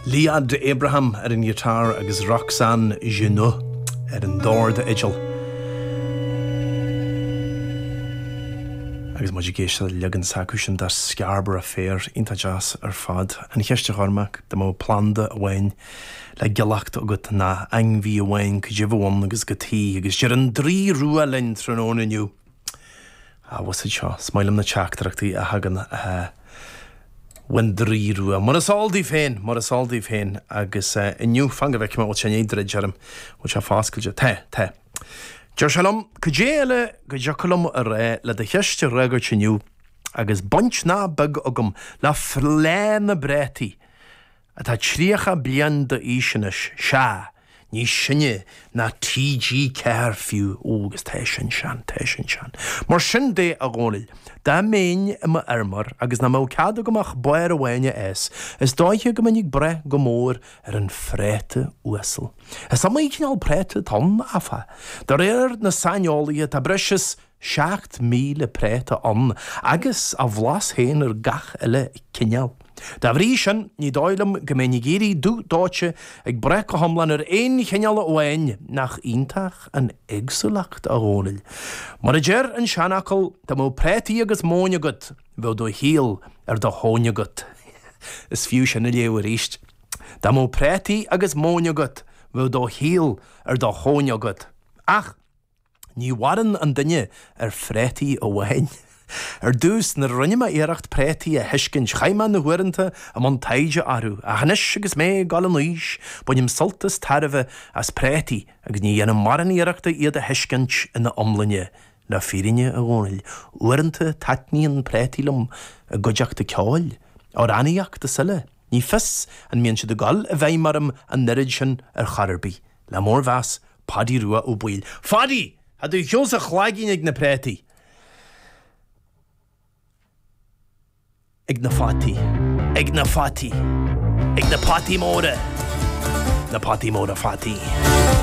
Liad Abraham ar an ghiotár agus Roxane Genoux ar an dord-fhidil. Agus muid ag éisteacht le leagan s'acu sin de Scarborough Fair, iontach deas ar fad. An cheist a Chormac, dá mbeadh planda amháin le giollacht agat ná ainmhí amháin, cad é a bheadh ann agus cad chuige? Agus deir an Draoi Rua linn tráthnóna inniu. Ah, bhfuil siad seo. Is maith liom na teachtaireachtaí a thagann ón Draoi Rua. Mar is eol daoibh féin, mar is eol daoibh féin. Agus inniu, fan go bhfeicfidh mé, bhfuil sé i ndiaidh druid orm, bhfuil sé foscailte? Tá, tá. Deir sé liom, cad é eile go dtiocfadh liom a rá le do cheist a fhreagairt inniu agus baint nach beag agam le Fleá na bPréataí atá 30 bliain d'aois anois, sea, níos sine ná TG4 fiú, ó agus tá sin sean, tá sin sean. Mar sin de, a Dhónaill, dá mbeinn i mo fheirmeoir agus nach mbeadh cead agam ach barr amháin a fhás, is dóiche go mbeinn ag brath go mór ar an phréata uasal. Is iomaí cineál préata atá ann, áfach. De réir na saineolaithe, tá breis is 7,000 préata ann agus a bhlas féin ar gach uile chineál. Dá bhrí sin, ní dóigh liom go mbeinn ag éirí dubh dóite ag brath go hiomlán ar aon chineál amháin, nach iontach an éagsúlacht, a Dhónaill? Mar a deir an seanfhocal, dá mbeadh préataí agus móin agat, bheadh do shaol ar do thóin agat. Is fiú sin a léamh arís. Dá mbeadh préataí agus móin agat, bheadh do shaol ar do thóin agat. Ach! Ní mhaireann an duine ar phréataí amháin. Ar dtús, nuair a rinne mé iarracht préataí a thuiscint, chaith mé na huaireanta i mbun taighde orthu, ach anois agus mé ag dul in aois, bainim sult is tairbhe as préataí agus ní dhéanaim mórán iarrachta iad a thuiscint ina iomláine. Le fírinne, a Dhónaill, uaireanta taitníonn préataí liom i gcuideachta ceoil, amhránaíocht is eile. Ní fios an mbíonn siad ag dul i bhfeidhm orm an oiread sin ar chor ar bith. Le mórmheas, Paidí Rua Ó Baoill. Phaidí! Tá do cheol sa chlaigín ag na préataí. Ag na fataí. Ag na fataí. Ag na potaí móra. Na potaí móra fataí.